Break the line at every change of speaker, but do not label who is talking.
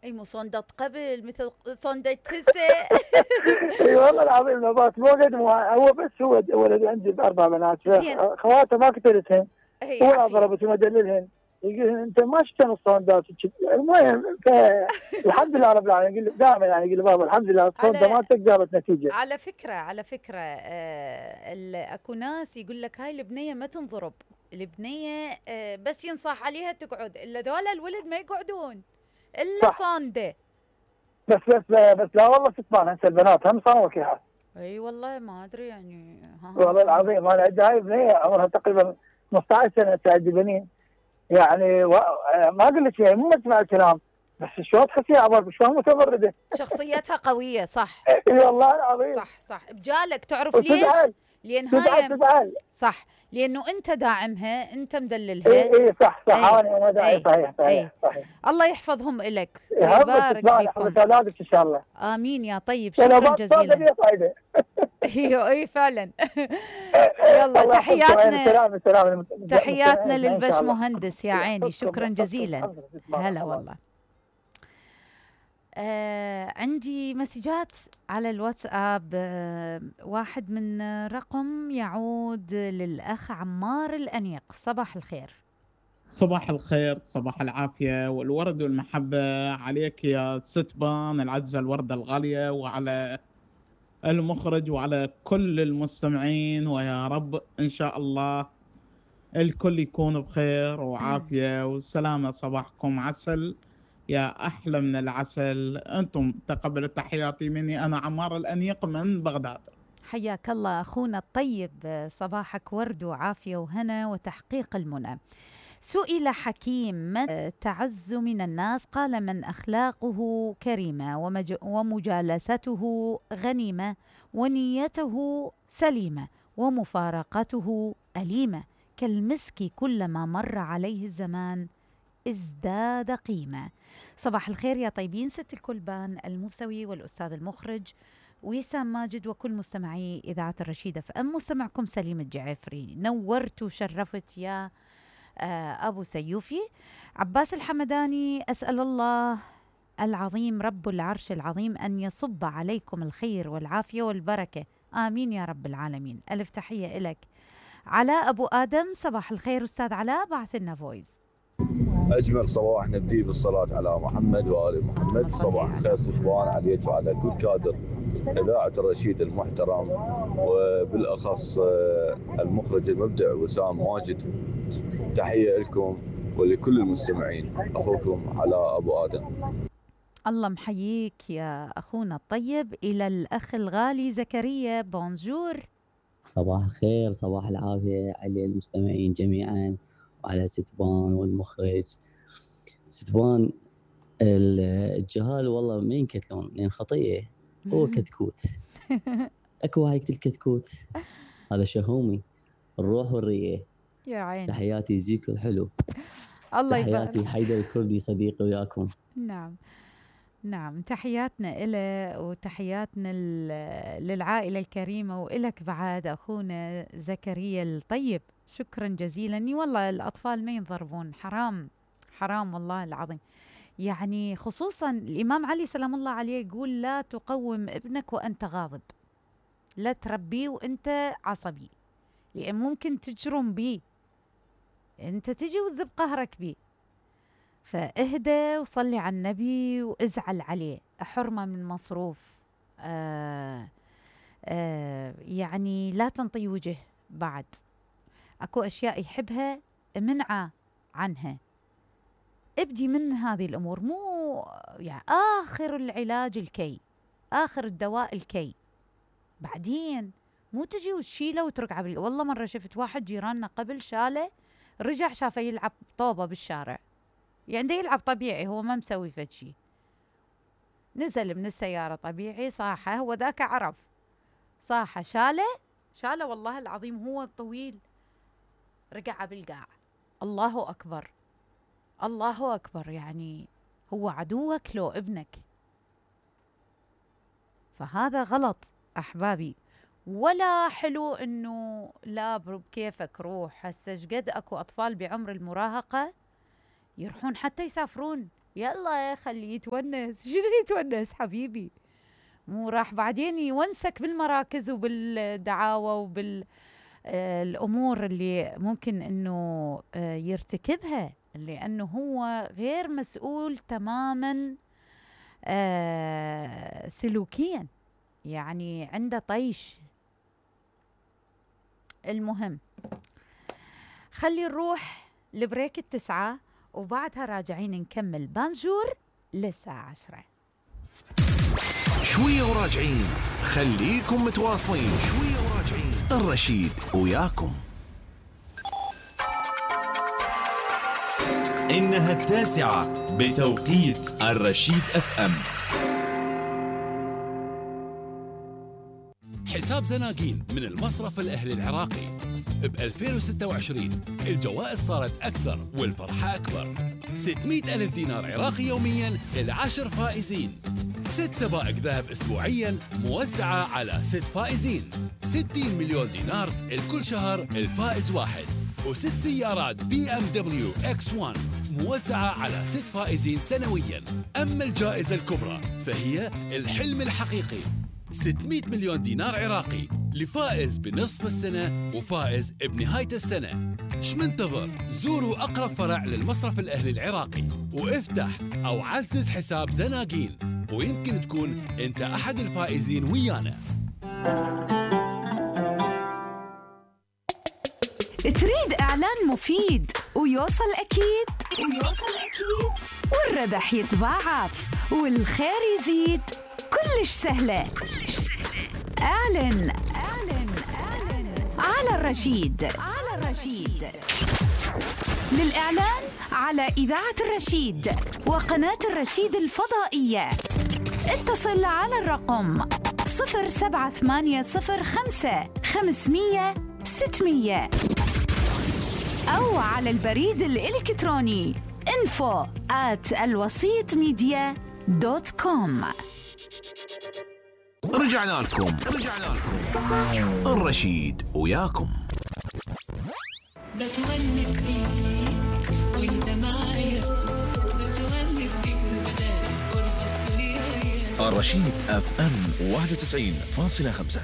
اي مو صندة قبل مثل صندة هسه.
اي والله العظيم نبات مو قد هو بس هو ولد عندي باربع بنات،
زين.
خواته ما قتلتهن
هي
ولا
عافية.
ضربتهم ادللهن. يقول انت ما شفت الصوندات. المهم الحمد لله رب العالمين. يقول دائما يعني يقول بابا الحمد لله الصونده
على
مالتك جابت نتيجه.
على فكرة اكو ناس يقول لك هاي البنية ما تنضرب، البنية بس ينصح عليها تقعد، الا ذولا الولد ما يقعدون الا
صح.
صاندة.
بس لا والله ستبان هسه البنات هم صاروا وكيحات.
اي والله ما ادري يعني.
والله العظيم انا عندي هاي بنيه عمرها تقريبا 15 سنه عندي بنين. يعني ما اقول لك يعني مو تسمع الكلام، بس شلون تحسيها عبر شلون متمرده.
شخصيتها قوية صح.
اي والله العظيم.
صح بجالك، تعرف ليش؟
وتزعل
لان
تزعل
هاي
تزعل.
صح، لانه انت داعمها، انت مدللها.
اي صح
اي
انا وداعي.
اي
صحيح
اي.
صحيح صحيح.
الله يحفظهم الك
همك
ويبارك
تسمعني حفظ
بكم.
اولادك ان شاء الله.
امين يا طيب،
لو
شكرا
ما تصادق
جزيلا.
لي صايده.
ايوه اي فعلا. يلا
الله يحفظكم وين
تحياتنا،
سلام سلام
تحياتنا
المستمعين ان شاء
للبش
الله.
مهندس يا عيني،
يحفظكم
شكرا
يحفظكم
جزيلا.
يحفظكم.
هلا
الله.
والله. عندي مسجات على الواتساب. واحد من رقم يعود للأخ عمار الأنيق. صباح الخير.
صباح الخير، صباح العافية والورد والمحبة عليك يا ستبان العزة، الوردة الغالية، وعلى المخرج وعلى كل المستمعين، ويا رب إن شاء الله الكل يكون بخير وعافية وسلامة. صباحكم عسل يا أحلى من العسل. أنتم تقبلوا تحياتي مني، أنا عمار الأنيق من بغداد.
حياك الله أخونا الطيب، صباحك ورد وعافية وهنا وتحقيق المنى. سئل حكيم من تعز من الناس؟ قال من أخلاقه كريمة ومجالسته غنيمة ونيته سليمة ومفارقته أليمة، كالمسك كلما مر عليه الزمان ازداد قيمة. صباح الخير يا طيبين، ست الكلبان الموسوي والأستاذ المخرج وسام ماجد وكل مستمعي إذاعة الرشيدة فأم. مستمعكم سليم الجعفري، نورت وشرفت يا أبو سيوفي. عباس الحمداني، أسأل الله العظيم رب العرش العظيم أن يصب عليكم الخير والعافية والبركة، آمين يا رب العالمين. ألف تحية إلك. علاء أبو آدم، صباح الخير أستاذ علاء، بعث لنا فويس.
أجمل صباح نبدي بالصلاة على محمد وآل محمد. صباح الخير ستبان عليك وعلى كل كادر إذاعة الرشيد المحترم، وبالأخص المخرج المبدع وسام ماجد. تحية لكم ولكل المستمعين. أخوكم علاء أبو آدم.
الله محييك يا أخونا الطيب. إلى الأخ الغالي زكريا، بونجور.
صباح الخير، صباح العافية على المستمعين جميعا وعلى ستبان والمخرج. ستبان الجهال والله ما ينكتلون لأن خطيئة، هو كتكوت. أكو هاي الكتكوت هذا شهومي الروح والرية.
يا عيني.
تحياتي زيكو الحلو.
الله
تحياتي
يبارك.
حيدر الكردي صديقي وياكم.
نعم تحياتنا إله وتحياتنا للعائلة الكريمة وإلك بعد أخونا زكريا الطيب. شكرا جزيلا. والله الأطفال ما ينضربون، حرام حرام والله العظيم. يعني خصوصا الإمام علي سلام الله عليه يقول لا تقوم ابنك وأنت غاضب، لا تربيه وأنت عصبي، لأن ممكن تجرم بيه، أنت تجي وتذب قهرك بيه. فاهدى وصلي على النبي وازعل عليه، حرمة من مصروف. يعني لا تنطي وجه بعد. اكو اشياء يحبها منعه عنها. ابدي من هذه الامور، مو يعني اخر العلاج الكي، اخر الدواء الكي، بعدين مو تجي وتشيله وتركعه. والله مرة شفت واحد جيراننا قبل شاله، رجع شافه يلعب طوبة بالشارع، يعني ده يلعب طبيعي، هو ما مسوي فد شي. نزل من السيارة طبيعي، صاحة، هو ذاك عرف، صاحة شاله والله العظيم، هو طويل، رقع بالقاع. الله أكبر الله أكبر. يعني هو عدوك لو ابنك، فهذا غلط أحبابي. ولا حلو إنه لا بكيفك روح. هسه شقد أكو أطفال بعمر المراهقة يروحون حتى يسافرون، يلا خليه يتونس. شنو يتونس حبيبي؟ مو راح بعدين يونسك بالمراكز وبالدعاوى وبالأمور اللي ممكن أنه يرتكبها، لأنه هو غير مسؤول تماما سلوكيا، يعني عنده طيش. المهم خلي نروح لبريك 9 وبعدها راجعين نكمل بانجور للساعة 10.
شوية وراجعين، خليكم متواصلين. شوية وراجعين، الرشيد وياكم.
إنها 9 بتوقيت الرشيد FM. حساب زناقين من المصرف الأهلي العراقي ب 2026 الجوائز صارت أكثر والفرحة أكبر. 600,000 دينار عراقي يومياً ل10 فائزين، 6 سبائك ذهب أسبوعياً موزعة على 6 فائزين، 60 مليون دينار الكل شهر الفائز واحد، و6 سيارات BMW X1 موزعة على 6 فائزين سنوياً. أما الجائزة الكبرى فهي الحلم الحقيقي، 600 مليون دينار عراقي لفائز بنصف السنة وفائز بنهاية السنة. شمنتظر؟ زوروا أقرب فرع للمصرف الأهلي العراقي وافتح أو عزز حساب زناقين، ويمكن تكون أنت أحد الفائزين ويانا.
تريد إعلان مفيد ويوصل أكيد والربح يتضاعف والخير يزيد؟ كلش سهلة. اعلن على الرشيد. للإعلان على إذاعة الرشيد وقناة الرشيد الفضائية اتصل على الرقم 07805 500 600 أو على البريد الإلكتروني info@alwasitmedia.com.
رجعنا لكم الرشيد وياكم.
بتونس بيك وانت معايا، بتونس بيك بدالي قربك ويايا.
الرشيد FM 91.5.